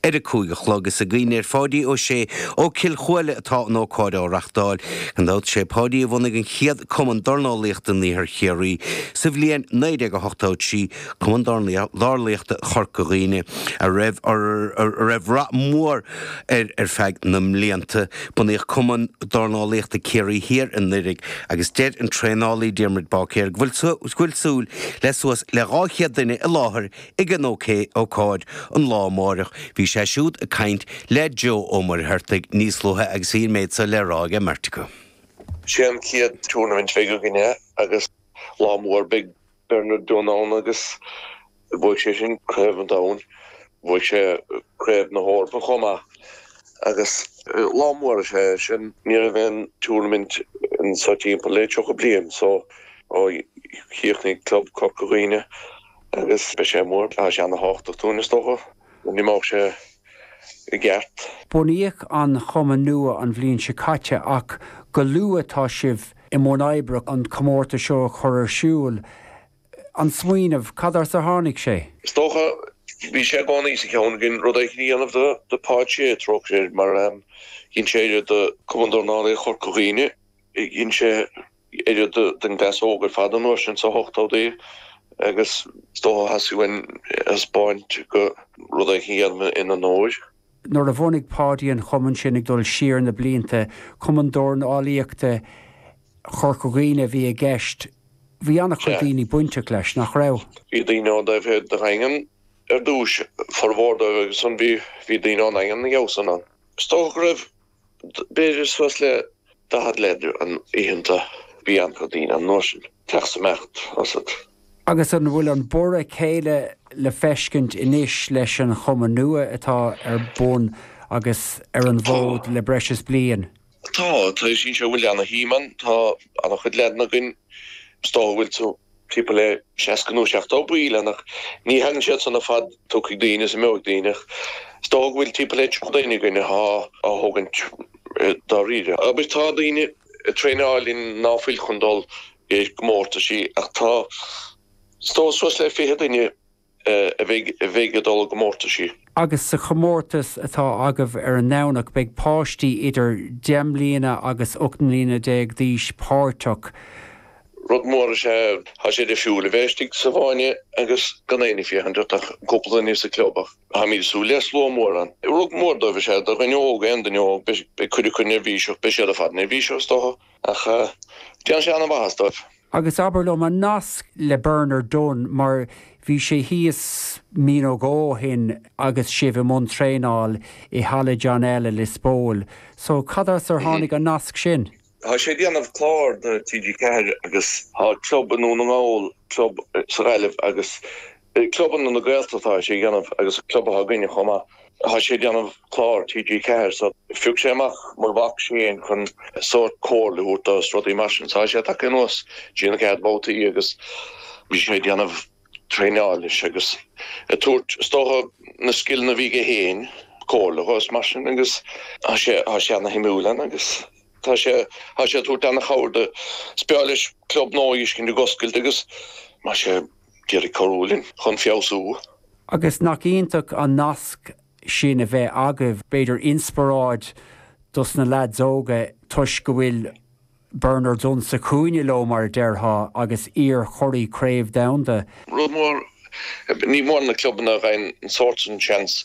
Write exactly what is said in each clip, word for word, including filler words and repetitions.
ar a cúig a chlog is i gcuimhne ar Pháidí Ó Sé ó Cill Chuaille atá an ócáid á reachtáil. Gan dabht sé Páidí a bhunaigh an chéad cumann dornálaíochta in Iarthar Chiarraí sa bhliain naoi déag a hochtó trí cumann dornálaíochta Chorca Dhuibhne a raibh a raibh rath mór ar ar feadh na mblianta. Bunaíodh cumann dornálaíochta Ciarraí Thiar anuraidh agus deir an traenálaí Diarmuid Báicéir go bhfuil súil le suas le dhá chéad duine i láthair ag an ócáid an lá amárach. Bhí sé siúd ag caint le Joe Ó Muircheartaigh níos luaithe agus bhí an méid seo le rá aige Meirt acu. Sé an chéad tournament bheidh againne agus lá mór beidh Bernard Dunne ann agus bhuaigh sé sin craobh an domhain, bhuaigh sé craobh na hEorpa chomh maith agus lá mór sé sin ní raibh aon tournament anso timpeall le tríocha bliain so ó chríochnaigh club Corca Dhuibhne agus beidh sé mór tá sé an-tábhachtach dúinn is dócha ní mbeadh sé i gceart. Bunaíodh an chumann nua an bhliain seo caite ach go luath tá sibh i mbun oibre an comórtas seo a chur ar siúl. An smaoineamh cad as ar tháinig sé? Is dócha bhí sé i gcónaí sa cheann againn rud éigin a dhéanamh do do Pháid Sé trócaire mar dhein sé oiread do Cumann Dornálaíochta Chorca Dhuibhne, dhein sé oiread don gcleas óg ar fad an uair sin sa hochtóidí agus is dócha theastaigh uainn a thaispeáint go rud éigin a dhéanamh ina onóir. Nuair a bhunaigh Páidí an chumann sin ag dul siar na blianta, Cumann Dornálaíochta Chorca Dhuibhne a bhí i gceist, bhí an-chuid daoine bainteach leis, nach raibh? Bhí daoine ón dtaobh thoir de Dhaingean ar dtús, formhór dóibh agus ansan bhí bhí daoine ón nDaingean na gheabhsan ann. Is dócha go raibh b'fhéidir suas le daichead leaid ann oícheanta, bhí an-chuid daoine an uair sin, teacht is imeacht as. Agus an bhfuil an borradh céanna le feiscint anois leis an chumann nua atá ar bun agus ar an bhfód le breis is bliain? Tá, tá sin seo bhfuil ana-shuim ann, tá an-chuid leaideanna againn, is dócha go bhfuil tú timpeall le seasca nó seachtó baill ann ach ní thagann siad san ar fad, tiocfaidh daoine is imeoidh daoine ach is dócha go bhfuil timpeall le tríocha duine againn atá á thógaint dáiríre. Agus tá daoine ag traenáil linn ná fuil chun dul i gcomórtaisí ach tá is dócha suas le fiche duine a bheidh a bheidh ag dul i gcomórtaisí. Agus sa chomórtas atá agaibh ar an nDomhnach beidh páistí idir deich mbliana agus ocht mbliana déag d'aois páirteach. Rud mór is ea tá sé difriúil a bheith istigh sa bhfáinne agus gan éinne ag féachaint ort ach cúpla duine sa club ach táimid ag súil le slua mór ann. Rud mór dóibh is ea do dhuine óg, aon duine óg, beidh cuid acu neirbhíseach, beidh siad ar fad neirbhíseach is dócha ach déanfaidh sé an-mhaitheas dóibh. Agus abair liom an nasc le Bernard Dunne mar bhí sé thíos mí nó dhó ó shin agus sibh i mbun traenáil i Halla John L i Lios Póil. So cad as ar tháinig an nasc sin? Tá sé ag déanamh clár do T G ceathair agus tá club i nDún na nGall, club sa Ghaillimh agus clubanna na Gaeltachta tá sé ag déanamh agus club atá againne chomh maith. Tá sé ag déanamh clár T G ceathair so phioc sé amach mo mhac Shane chun sórt comhairle a thabhairt dó is rudaí mar sin. So tá sé tagtha anuas dtí na chéad babhtaí agus bhí sé ag déanamh traenáil leis agus ag tabhairt is dócha na scileanna a bhí aige féin, comhairle dhó is mar sin agus tá sé tá sé ana-shuimiúil ann agus Tá sé, tá sé ag tabhairt ana-chabhair do. Is breá leis club nua a fheiscint ag oscailt agus tá sé ag iarraidh cabhrú linn chun feabhsú. Agus nach iontach an nasc sin a bheith agaibh, b'fhéidir inspioráid dos na leaids óga toisc go bhfuil Bernard Dunne sa chúinne leo mar a déarfá agus iar-churaidh craobh domhanda. Rud mór, ní mórán na clubanna a fhaigheann an sórt sin seans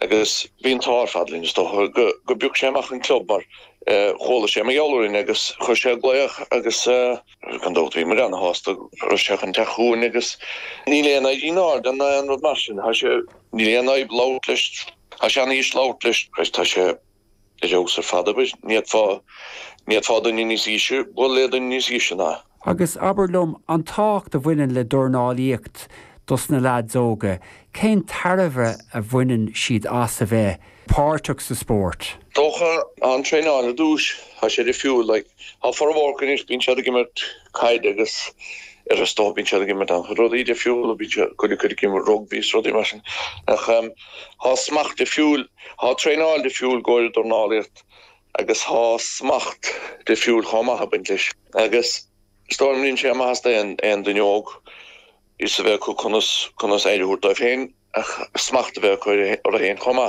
agus bhí an t-ádh ar fad linn is dócha go go bpioc sé amach an club mar chuala sé mar gheall orainn agus chuir sé glaoch agus gan dabht bhí muid ana-shásta go raibh sé chun teacht chugainn agus níl aon éirí in airde ná aon rud mar sin, tá sé, níl aon fhadhb labhairt leis, tá sé ana-dheas labhairt leis, tá sé ar fheabhas ar fad, abair, ní fhéadfá, ní fhéadfá duine níos aoise bualadh le duine níos aoise ná. Agus abair liom, an tábhacht a bhaineann le dornálaíocht dos na leaids óga, cén tairbhe a bhaineann siad as a bheith páirteach sa spórt? Dócha, an traenáil ar dtús, tá sé difriúil, like, tá formhór acu anois, bíonn siad ag imirt caide agus ar is dócha bíonn siad ag imirt an-chuid rudaí difriúla, bíonn siad, cuid acu ag imirt rugbaí is rudaí mar sin, ach tá smacht difriúil, tá traenáil difriúil i gcomhair dornálaíocht agus tá smacht difriúil chomh maith ag baint leis agus is dóigh liom déanann sé maitheas d'aon aon duine óg fhios a bheith acu conas conas aire a thabhairt dóibh féin ach smacht a bheith acu orthu féin chomh maith.